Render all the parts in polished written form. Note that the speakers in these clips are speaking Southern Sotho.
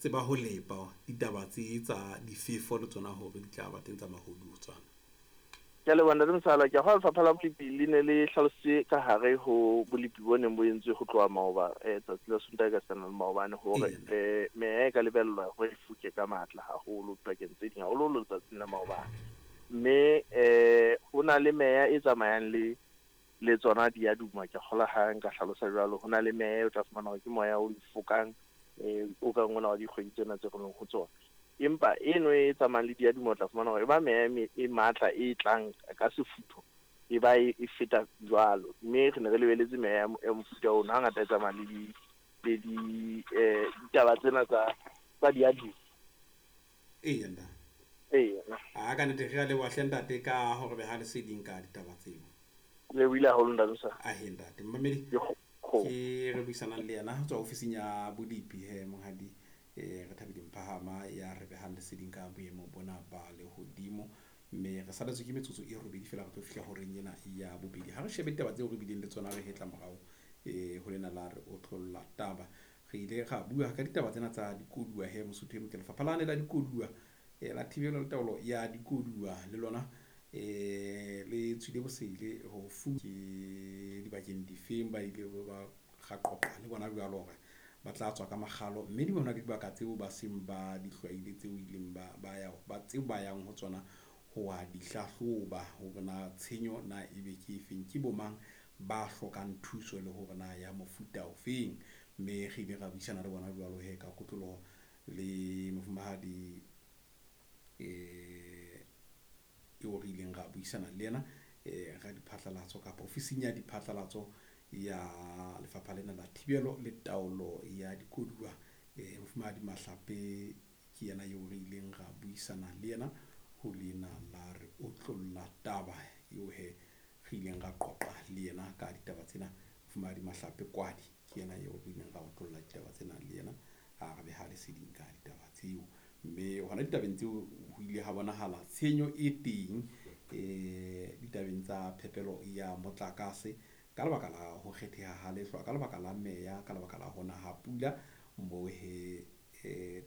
Tseba ho lepa ditaba tse tsa difefo le tsona hore di tla ba teng tsa mahodiotswana. Ke a leboha Ntate Mosala. Ke a kgolwa Lefapha la Bolepi le ne le hlalositse ka hare ho bolepi bo neng bo entswe ho tloha maoba tsatsi la Sontaha ka sena le maobane hore meya e ka lebellwa hore e foke ka matla haholo dibakeng tse ding, haholoholo letsatsing la maobane. Mme ho na le meya e tsamayang le le tsona di a duma. Ke a kgolwa ha nka hlalosa jwalo. Ho na le meya e o tla fumana hore ke moya o fokang o kang ona wa dikgwedi tsena tse re leng ho tsona. Empa eno e tsamayang le diaduma o tla fumana hore e ba meya e matla e tlang ka sefutho, e ba e feta jwalo. Mme re ne re lebeletse meya ya mofuta ono, hangata e tsamaya le di ditaba tsena tsa diaduma. Eya ntate. Eya. A ka nnete re a leboha hle ntate ka hore beha leseding ka ditaba tseo. Le buile haholo ntate Mosala. Ahe ntate. Mmamedi ke re buisanang le yena ho tswa ofising ya bolepi he monghadi re Thabile Mphahama ya re behang leseding ka boemo bona ba lehodimo. Mme re saletswe ke metsotso e robedi fela re tlo fihla horeng ena ya bobedi. Ha re shebe ditaba tseo re bileng le tsona re hetla morao ho lena la re otlolla taba. Re ile ra bua ka ditaba tsena tsa dikoduwa he Mosotho e motle. Lefapha lane la dikoduwa la thibelo le taolo ya dikoduwa le lona le tswile bosele ho ke dibakeng difeng ba ile ba ra qoqa le bona jwalo hore ba tla tswa ka makgalo, mme di bona le dibaka tseo ba seng ba di hlwaile tseo ileng ba ya ba tseo ba yang ho tsona ho wa di hlahloba hore na tshenyo na ebe ke efeng, ke bo mang ba hlokang thuso le hore na ya mofuta ofeng. Mme re ile ra buisana le bona jwalo he ka kotloloho le mofumahadi eo re ileng ra buisana le yena ra diphatlalatso kapa ofising ya diphatlalatso ya lefapha lena la thibelo le taolo ya dikoduwa. Mofumahadi Mahlape ke yena eo re ileng ra buisana le yena ho lena la re otlolla taba eo he re ileng ra qoqa le yena ka ditaba tsena. Mofumahadi Mahlape Kwadi ke yena eo re ileng ra otlolla ditaba tsena le yena, a re beha leseding ka ditaba tseo. Mme hona ditabeng tseo ho ile ha bonahala tshenyo e teng ditabeng tsa phepelo ya motlakase ka lebaka la ho kgetheha ha lehlwa, ka lebaka la meya, ka lebaka la hona ha pula, moo he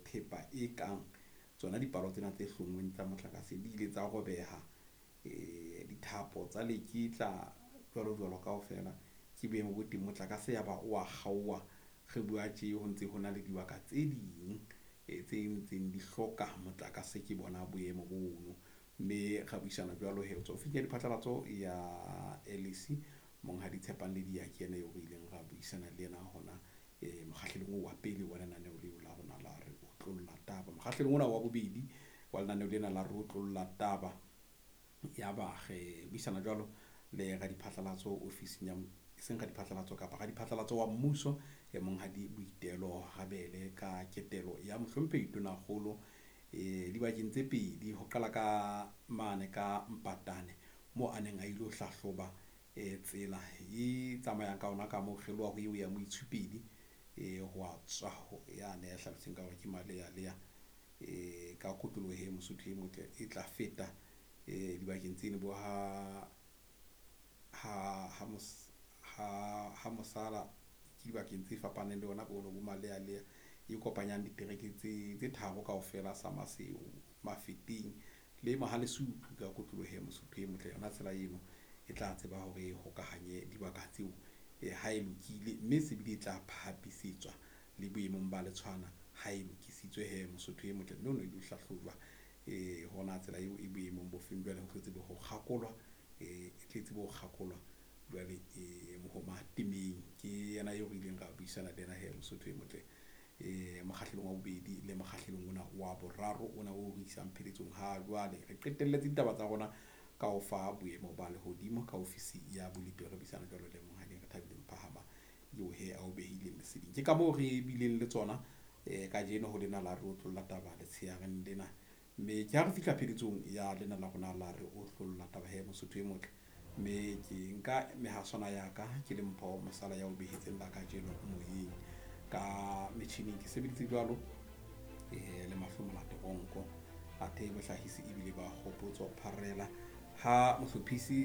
thepa e kang tsona dipalo tsena tse hlonngweng tsa motlakase di ile tsa robeha, dithapo tsa leketla jwalo jwalo kaofela. Ke boemo bo teng motlakase ya ba o a kgaoha. Re bua tje ho ntse ho na le dibaka tse ding tse ntseng di hloka motlakase, ke bona boemo bono. Mme ra buisana jwalo he ho tswa ofising ya diphatlalatso ya LEC monghadi Tshepang Ledia ke yena eo re ileng ra buisana le yena hona mokgahlelong oo wa pele wa lenaneo leo la rona la re otlolla taba. Mokgahlelong ona wa bobedi wa lenaneo lena la re otlolla taba, ya ba re buisana jwalo le radiphatlalatso ofising ya seng radiphatlalatso kapa radiphatlalatso wa mmuso monghadi Boitelo Rabele ka ketelo ya mohlomphehi Tonakgolo dibakeng tse pedi, ho qala ka mane ka Mpatane moo a neng a ilo hlahloba tsela e tsamayang ka ona ka moo kgeloha ho eo ya Moitshupedi ho a tswa yane ya hlalositseng ka hore ke Maleyaleya ka kotloloho e Mosotho e motle e tla feta dibakeng tseno bo ha ha Mosala ke dibakeng tse fapaneng le ona bono bo Maleyaleya e kopanyang ditereke tse tharo kaofela sa Maseru, Mafeteng le Mohalesupu ka kotloloho e Mosotho e motle. Yona tsela eno e tla tseba hore e hokahanye dibaka tseo ha e lokile, mme se bile e tla phahamisetswa le boemong ba letshwana ha e lokisitswe he Mosotho e motle. Mme o no ilo hlahlojwa hona tsela eo e boemong bo feng jwale ho tlo tsebe ho kgakolwa e tle tsebe ho kgakolwa jwale mohoma temeng. Ke yena eo re ileng ra buisana le yena he Mosotho e motle mokgahlelong wa bobedi le mokgahlelong ona wa boraro ona o re isang pheletsong ha jwale. Re qetelletse ditaba tsa rona ka ho fa boemo ba lehodimo ka ofisi ya bolepi re buisana jwalo le monghadi re Thabile Mphahama eo he a o behileng leseding. Ke ka moo re bileng le tsona kajeno ho lena la re otlolla taba letsheareng lena. Mme ke ha re fihla pheletsong ya lena la rona la re otlolla taba he Mosotho e motle. Mme ke nka mehaswana ya ka ke le Mpho Mosala ya o behetseng la kajeno moyeng. Ka metjhining ke sebeditse jwalo le Mahlomola Teronko, athe bohlahisi ebile ba Kgopotso Pharela ha mohlophisi.